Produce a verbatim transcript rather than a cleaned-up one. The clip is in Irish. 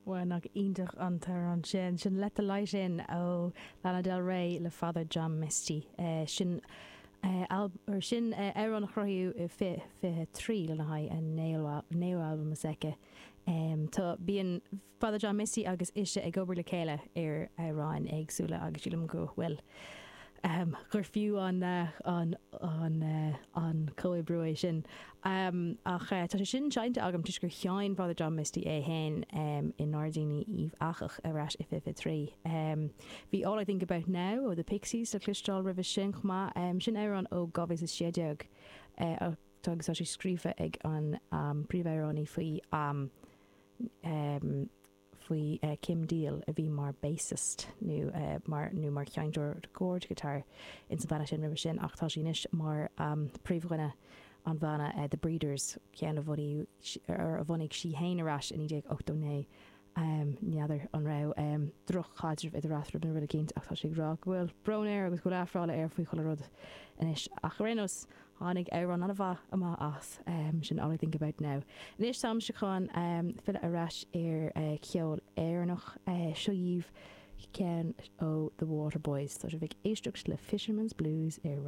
Well nach iontach an t-amhrán sin sin Let the Light In ó Lana Del Rey le Father John Misty uh, sin uh, or sin uh, amhrán a cruthaíodh fiche fiche trí lena haghaidh an naoú albam s'aici. Um, tá bíonn Father John Misty agus ise ag obair le chéile ar amhráin éagsúla agus sílim go bhfuil um, gur fiú an uh, an an uh, an comhoibriú é sin. Um, ach uh, tá sé sin seinnte agam toisc gur sheinn Father John Misty é féin um, i nGairdíní Uíbh Eachach ar ais i fiche trí. Um, bhí All I Think About Now ó The Pixies le cloisteáil roimhe sin chomh maith um, sin amhrán ó dhá mhíle sé déag uh, agus tá sé scríofa ag an um, príomhamhránaí faoi um, um, faoi uh, Kim Deal a bhí mar bassist nó uh, mar nó mar sheinnteoir dord guitar in sa bhanna sin roimhe sin ach tá sí anois mar um, príomhdhuine an bhanna uh, The Breeders ceann a bhunaigh a bhunaigh sí féin ar ais in déag ochtó naoi. Um, N'fheadar an raibh um, drochchaidreamh idir eatarthu nó rud éicint ach tá sé rá go bhfuil brón air agus go aiféala air faoi chuile rud anois ach rénos tháinig amhrán an-mhaith amach as um, sin All I Think About Now. Anois táim chun um, filleadh ar ais ar uh, ceol Éireannach uh, seo dhaoibh ceann ó The Waterboys, Tá sibh ag éisteacht le Fisherman's Blues ar